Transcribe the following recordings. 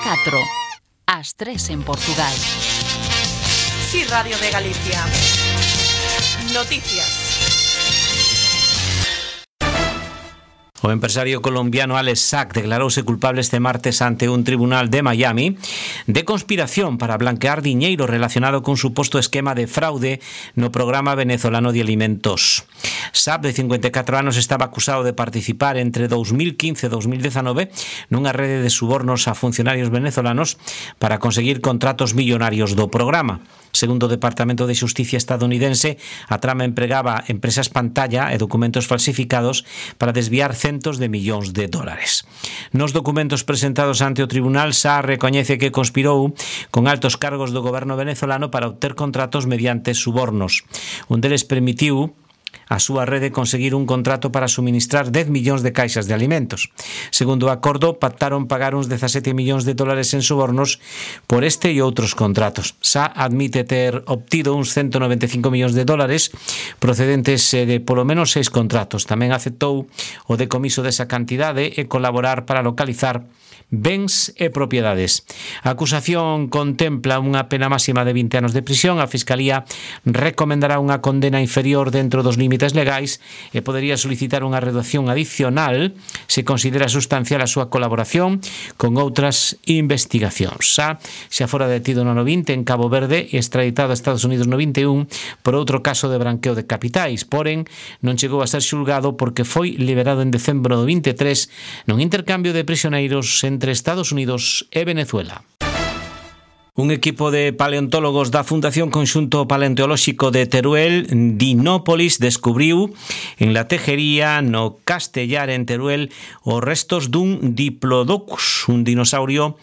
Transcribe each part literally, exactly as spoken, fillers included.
catro, ás tres en Portugal. Sí, Radio de Galicia. Noticias. O empresario colombiano Alex Sack declarouse culpable este martes ante un tribunal de Miami de conspiración para blanquear diñeiro relacionado cun suposto esquema de fraude no programa venezolano de alimentos. Sack, de cincuenta e catro anos, estaba acusado de participar entre dous mil quince e dous mil dezanove nunha rede de subornos a funcionarios venezolanos para conseguir contratos millonarios do programa. Segundo o Departamento de Xusticia estadounidense, a trama empregaba empresas pantalla e documentos falsificados para desviar centos de millóns de dólares. Nos documentos presentados ante o tribunal, Sá recoñece que conspirou con altos cargos do goberno venezolano para obter contratos mediante subornos. Un deles permitiu a súa rede conseguir un contrato para suministrar dez millóns de caixas de alimentos. Segundo o acordo, pactaron pagar uns dezasete millóns de dólares en subornos por este e outros contratos. Sá admite ter obtido uns ciento noventa e cinco millóns de dólares procedentes de polo menos seis contratos. Tamén aceptou o decomiso desa cantidade e colaborar para localizar bens e propiedades. A acusación contempla unha pena máxima de vinte anos de prisión. A Fiscalía recomendará unha condena inferior dentro dos límites legais e podería solicitar unha reducción adicional se considera sustancial a súa colaboración con outras investigacións. Xa, xa fora detido no ano vinte en Cabo Verde e extraditado a Estados Unidos no vinte e un por outro caso de branqueo de capitais, porén non chegou a ser xulgado porque foi liberado en decembro do vinte e tres nun intercambio de prisioneiros entre Estados Unidos e Venezuela. Un equipo de paleontólogos da Fundación Conxunto Paleontolóxico de Teruel, Dinópolis, descubriu en la Tejería, no Castellar, en Teruel, os restos dun Diplodocus, un dinosaurio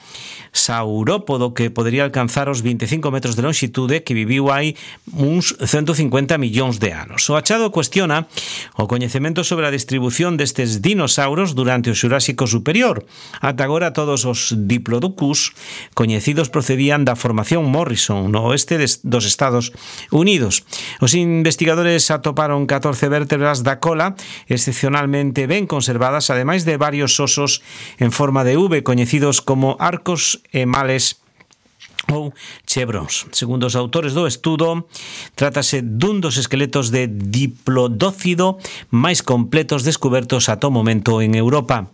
saurópodo que podería alcanzar os vinte e cinco metros de longitude, que viviu hai uns ciento cincuenta millóns de anos. O achado cuestiona o coñecemento sobre a distribución destes dinosauros durante o Xurásico Superior. Ata agora todos os Diplodocus coñecidos procedían da formación Morrison no oeste dos Estados Unidos. Os investigadores atoparon catorce vértebras da cola excepcionalmente ben conservadas, ademais de varios osos en forma de V coñecidos como arcos e males ou chevrons. Segundo os autores do estudo, trátase dun dos esqueletos de diplodócido máis completos descubertos ata o momento en Europa.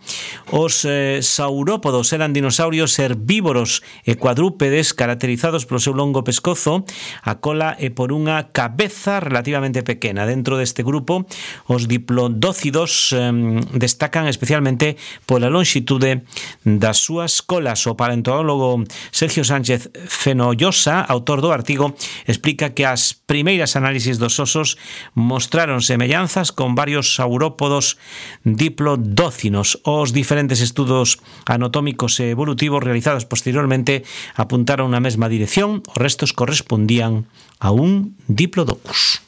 Os eh, saurópodos eran dinosaurios herbívoros e cuadrúpedes caracterizados polo seu longo pescozo, a cola e por unha cabeza relativamente pequena. Dentro deste grupo, os diplodócidos eh, destacan especialmente pola longitude das súas colas. O paleontólogo Sergio Sánchez Fenollosa, autor do artigo, explica que as primeiras análisis dos osos mostraron semellanzas con varios saurópodos diplodócinos. Os diferentes estudos anatómicos e evolutivos realizados posteriormente apuntaron na mesma dirección. Os restos correspondían a un Diplodocus.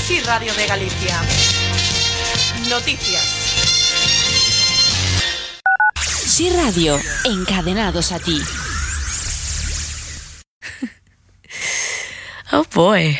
Sí, Radio de Galicia. Noticias. Sí Radio, encadenados a ti. Oh boy.